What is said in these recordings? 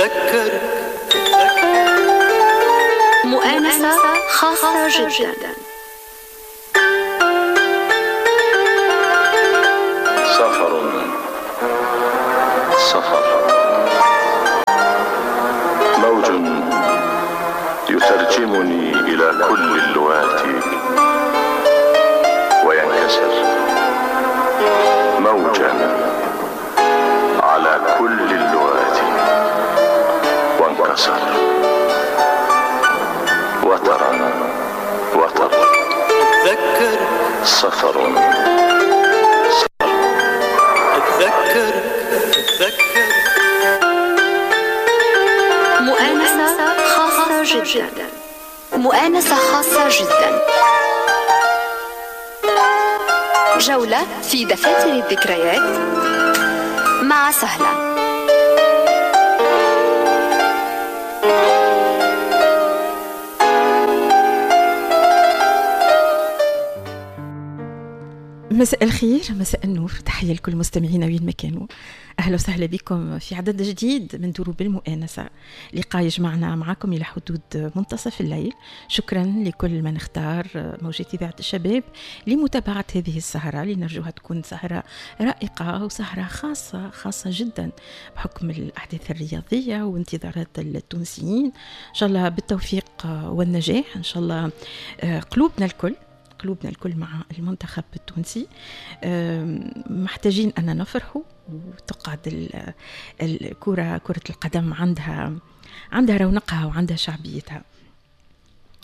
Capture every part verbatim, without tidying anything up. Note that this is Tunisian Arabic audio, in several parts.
أتذكر مؤانسة خاصة جدا. سفر سفر موج يترجمني إلى كل اللغات وينكسر موجا على كل اللغات وانكسر وترا وتر. أتذكر سفر أتذكر أتذكر مؤانسة خاصة جدا. مؤانسة خاصة جدا، جولة في دفاتر الذكريات مع سهلة. مساء الخير، مساء النور، تحية لكل مستمعينا وين ما كانوا. أهلا وسهلا بكم في عدد جديد من دروب المؤانسة، لقاء يجمعنا معكم إلى حدود منتصف الليل. شكرا لكل من اختار موجات إذاعة الشباب لمتابعة هذه السهرة اللي نرجوها تكون سهرة رائقة وسهرة خاصة خاصة جدا بحكم الأحداث الرياضية وانتظارات التونسيين. إن شاء الله بالتوفيق والنجاح، إن شاء الله قلوبنا الكل قلوبنا الكل مع المنتخب التونسي. محتاجين أن نفرحوا وتقعد الكرة كرة القدم عندها عندها رونقها وعندها شعبيتها.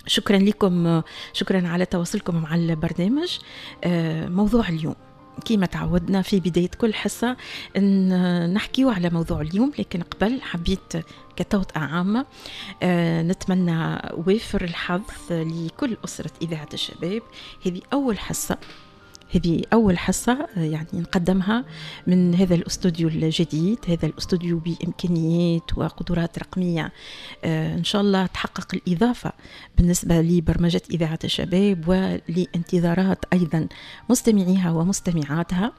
شكرا لكم، شكرا على تواصلكم مع البرنامج. موضوع اليوم كما تعودنا في بداية كل حصة أن نحكيو على موضوع اليوم، لكن قبل حبيت كتوطئة عامة نتمنى وافر الحظ لكل أسرة إذاعة الشباب. هذه أول حصة هذه أول حصة يعني نقدمها من هذا الاستوديو الجديد، هذا الاستوديو بإمكانيات وقدرات رقمية إن شاء الله تحقق الإضافة بالنسبة لبرمجة إذاعة الشباب ولانتظارات أيضا مستمعيها ومستمعاتها.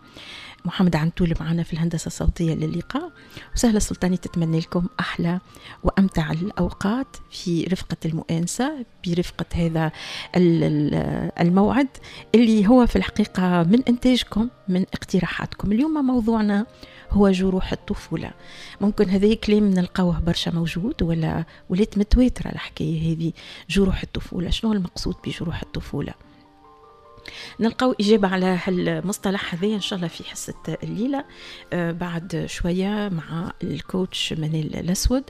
محمد عنتول معنا في الهندسة الصوتية للقاء، وسهلة السلطاني تتمنى لكم أحلى وأمتع الأوقات في رفقة المؤانسة، برفقة هذا الموعد اللي هو في الحقيقة من إنتاجكم، من اقتراحاتكم. اليوم موضوعنا هو جروح الطفولة. ممكن هذا كلام نلقاوه برشا موجود ولا ولات متواترة الحكاية هذه، جروح الطفولة. شنو المقصود بجروح الطفولة؟ نلقاو إجابة على هالمصطلح هذا إن شاء الله في حصة الليلة بعد شوية مع الكوتش منال الأسود،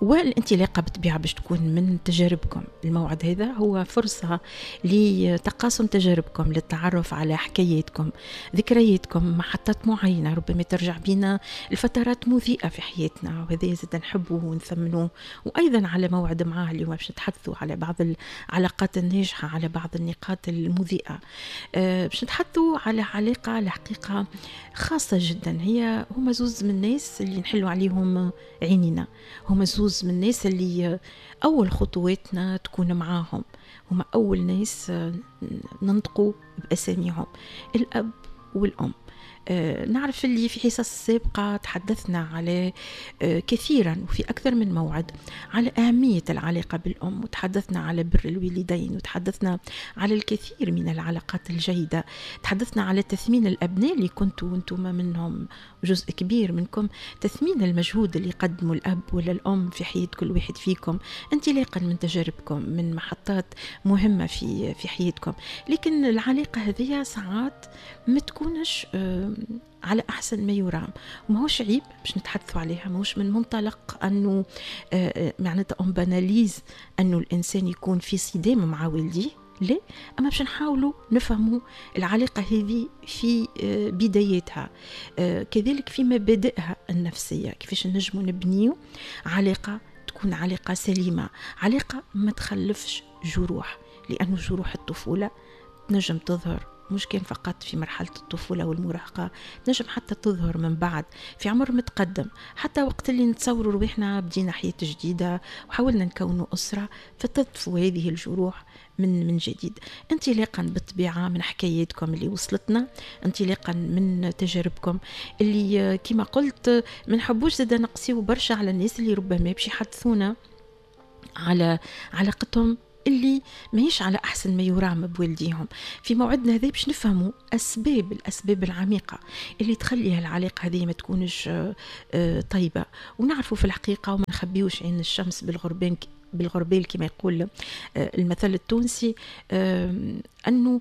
والانطلاقة بالطبيعة باش تكون من تجاربكم. الموعد هذا هو فرصة لتقاسم تجاربكم، للتعرف على حكاياتكم، ذكرياتكم، محطات معينة ربما ترجع بنا لفترات مضيئة في حياتنا، وهذا زاد نحبه ونثمنه. وأيضا على موعد معاه اليوم باش نتحدثوا على بعض العلاقات الناجحة، على بعض النقاط المضيئة، باش نتحدثوا على علاقة الحقيقة خاصة جدا. هي هما زوز من الناس اللي نحلوا عليهم عينينا، هما زوز من الناس اللي أول خطواتنا تكون معاهم، هما أول ناس ننطقوا بأساميهم، الأب والأم. نعرف اللي في حصص السابقة تحدثنا على كثيرا وفي أكثر من موعد على أهمية العلاقة بالأم، وتحدثنا على بر الوالدين، وتحدثنا على الكثير من العلاقات الجيدة، تحدثنا على تثمين الأبناء اللي كنتوا وانتم منهم جزء كبير منكم، تثمين المجهود اللي قدموا الأب ولا الأم في حياة كل واحد فيكم انطلاقا من تجاربكم، من محطات مهمة في في حياتكم. لكن العلاقة هذه ساعات ما تكونش على أحسن ما يرام، وماهوش عيب باش نتحدثوا عليها، ماهوش من منطلق أنه معناتها on banalise أنه الإنسان يكون في صدام مع والديه، لا، أما باش نحاولوا نفهموا العلاقة هذه في بدايتها، كذلك في مبادئها النفسية، كيفاش نجموا نبنيو علاقة تكون علاقة سليمة، علاقة ما تخلفش جروح، لأنه جروح الطفولة تنجم تظهر مش كان فقط في مرحلة الطفولة والمراهقة، تنجم حتى تظهر من بعد في عمر متقدم، حتى وقت اللي نتصوروا رواحنا بدينا حياة جديدة وحاولنا نكونوا أسرة، فتطفو هذه الجروح من من جديد. انطلاقا بالطبيعة من حكاياتكم اللي وصلتنا، انطلاقا من تجاربكم اللي كما قلت ما نحبوش زاد نقسيو برشا على الناس اللي ربما باش يحدثونا على علاقتهم اللي ماهيش على أحسن ما يرام بوالديهم. في موعدنا هذا باش نفهموا أسباب الأسباب العميقة اللي تخلي هالعلاقة هذه ما تكونش طيبة، ونعرفوا في الحقيقة وما نخبيوش عين الشمس بالغربان بالغربال كما يقول المثل التونسي، أنه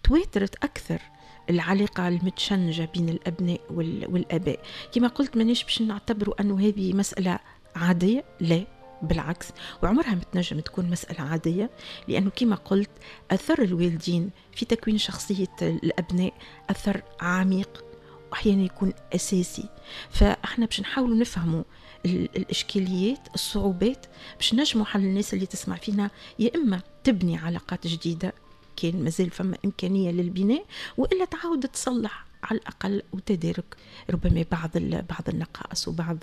تواترت أكثر العلاقة المتشنجة بين الأبناء والآباء. كما قلت مانيش باش نعتبروا أنه هذه مسألة عادية، لا بالعكس، وعمرها ما تنجم تكون مسألة عادية، لأنه كما قلت أثر الوالدين في تكوين شخصية الأبناء أثر عميق وأحيانا يكون أساسي. فإحنا باش نحاولوا نفهموا الإشكاليات الصعوبات باش نجموا حل الناس اللي تسمع فينا يا إما تبني علاقات جديدة كان مازال فما إمكانية للبناء، وإلا تعاود تصلح على الأقل وتدارك ربما بعض بعض النقائص وبعض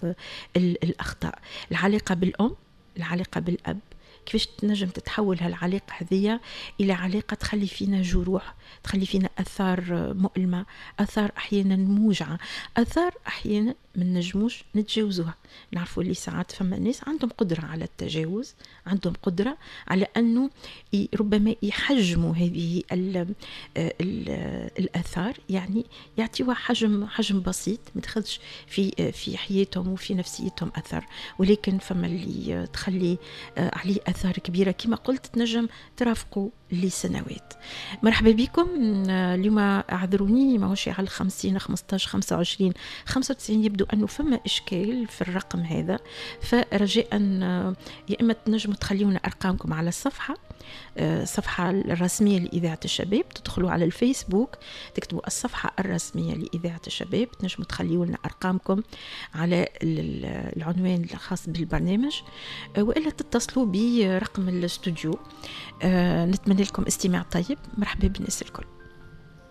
الأخطاء. العلاقة بالأم، العلاقة بالأب، كيفاش تنجم تتحول هالعلاقة هذية إلى علاقة تخلي فينا جروح، تخلي فينا أثار مؤلمة، أثار أحيانا موجعة، أثار أحيانا ما نجموش نتجاوزوها. نعرفوا اللي ساعات فما ناس عندهم قدرة على التجاوز، عندهم قدرة على أنه ربما يحجموا هذه ال ال الأثار، يعني يعطيوها حجم حجم بسيط ما تاخذش في في حياتهم وفي نفسيتهم أثر، ولكن فما اللي تخلي عليه أثار كبيرة كما قلت تنجم ترافقوا لسنوات. مرحبا بكم اليوم، اعذروني ماهوش على الخمسين خمسطاش خمسة وعشرين خمسة وتسعين، يبدو أنه فما إشكال في الرقم هذا، فرجاء يا إما تنجموا تخليونا أرقامكم على الصفحة الصفحة الرسمية لإذاعة الشباب، تدخلوا على الفيسبوك تكتبوا الصفحة الرسمية لإذاعة الشباب، تنجموا تخليوا لنا أرقامكم على العنوان الخاص بالبرنامج، وإلا تتصلوا برقم الاستوديو. نتمنى لكم استماع طيب. مرحبا بالناس الكل.